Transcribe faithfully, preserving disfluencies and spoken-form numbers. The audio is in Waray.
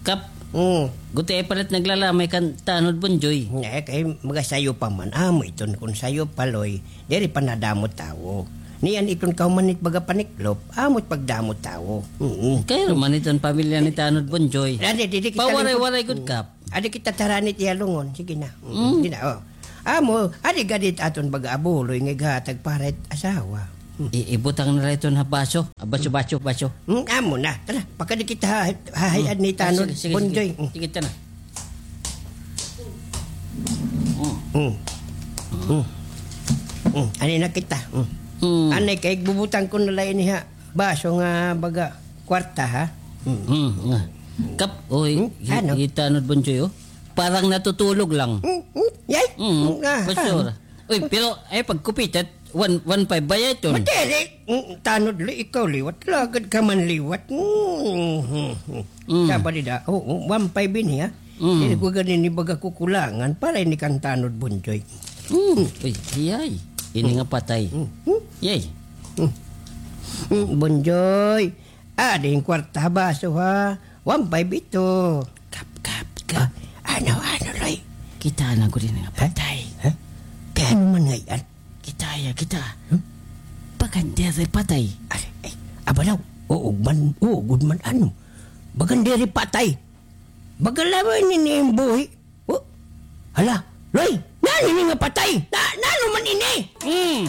Kap. Mm. Gutiay palit naglalamay kan Tanod Bonjoy. Eh, kay magasayo pa man. Amo iton kun sayo pa, Loy. Diri pa nadamo tawo. Niyan iton kahuman it baga paniklop. Amo it pagdamo tawo. Mm. Kay man iton pamilya ni Tanod Bonjoy. Adi, didi kita Pawaray-waray gud, Kap. Adi kita tarani it iya lungon. Sige na. Mm. Sige na, oh. Amo, adi gad it aton baga abuloy nga ighatag para it asawa. Hmm. I-, ibutang na la iton ha baso. Ah, baso, baso, baso. Hmm, amo na. Tara, pakadi kita ha-, hahay-an ni Tanod Bonjoy. Ah, sige, sige, sige. Hmm. Sige, tara. Hmm. Hmm. Hmm. Hmm. Ani na kita. Hmm. Hmm. Ani kay bubutang ko na la ini ha baso nga baga kwarta, ha? Hmm. Hmm, nga. Kap, oy, hi-, hi Tanod Bonjoy, oh. Parang natutulog lang. Hmm, hmm, yay. Hmm, ah, basura. Uy, pero ay pagkupitat, one, one five ba iton? Madiri. Hmm, Tanod, Loy, ikaw liwat. Lagad ka man liwat. Hmm, hmm, hmm. Hmm. Saba dida. Oo, one five ini, ha? Hmm. Diri ko gani ini baga kukulangan para ini kan Tanod Bonjoy. Hmm. Uy, yay. Ini nga patay. Hmm. Hmm. Yay. Hmm. Hmm, Bonjoy. Adi in kwarta ha baso, ha? One five ito. Kap, kap, kap. Ah, ano, ano, Loy? Kita na gud ini nga patay. Ha? Kay ano man ngay-an? Kita ya, kita. Hmm? Bagan diri patay. Ay, ay, aba daw. Oo man, oo gud man, ano? Bagan diri patay. Bagan la man ini buhi. Oh, hala, Loy, nano ini nga patay? Na, nano man ini? Hmm.